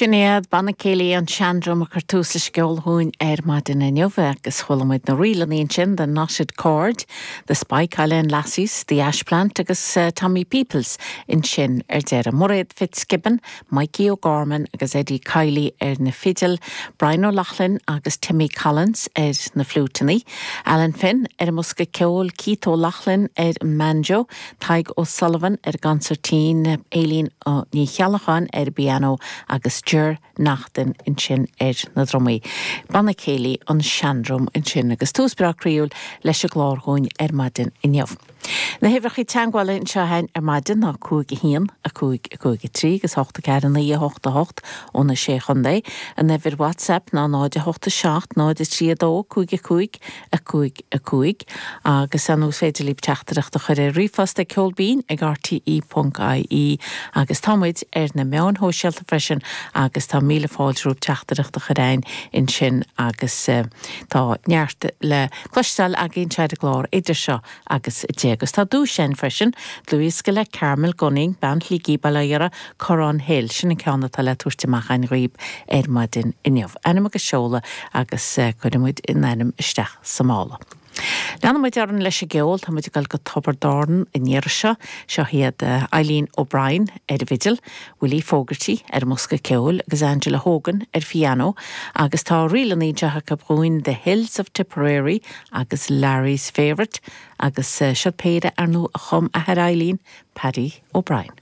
Sin iad Banna Céilí an Seandrum a chuir tús leis an gceol dhúinn ar maidin inniu agus chuala muid na ríleanna ansin, The Knotted Cord, The Spike Island Lassies, The Ashplant agus Tommy Peoples ansin ar deireadh. Mairéad Fitzgibbon, Mikey O'Gorman agus Eddie Kiely ar na fidil, Brian O'Loughlin agus Timmy Collins ar na fliúiteanna, Alan Finn ar an mbosca ceoil, Keith O'Loughlin ar an mbanjo, Tadhg O'Sullivan ar an gconsairtín, Aileen Ní Cheallacháin ar an bpianó agus Ger Naughton ansin ar na drumaí. Banna Céilí an Seandrum ansin agus tús breá croíúil leis an gclár dhúinn ar maidin inniu. Na huimhreacha teagmhála anseo againn ar maidin ná 5 1 5 5 3 agus 8 4 9 8 8 ó na Sé Chontae. An uimhir WhatsApp ná 0 8 7 0 3 2 5 5 5 5 agus ar ndóigh is féidir libh teachtaireacht a chur ar ríomhphost ag ceolbinn ag rte ponc ie agus tá muid ar na meáin shóisialta freisin agus tá míle fáilte romhaibh teachtaireacht a chur againn ansin agus tá neart le cloisteáil againn anseo ar an gclár idir seo agus 10. Agus tá duais againn freisin, dlúthdhiosca le Carmel Gunning, Bean Shligigh, Baile Átha Dara, Corrán Hill, sin an ceann atá le tabhairt amach againn dhaoib ar maidin inniu. Ainm agus seoladh agus cuirfidh muid an ainm isteach sa mála. Leanfaidh muid orainn leis an gceol, tá muid ag dul go Tiobraid Árann an iarraidh seo. Seo iad Eileen O'Brien ar an bhfidil, Willie Fogarty ar an mbosca ceoil agus Angela Hogan ar phianó agus tá ríleanna anseo acu dhúinn The Hills of Tipperary agus Larry's Favourite agus siod péire ar ndóigh a chum athair Eileen, Paddy O'Brien.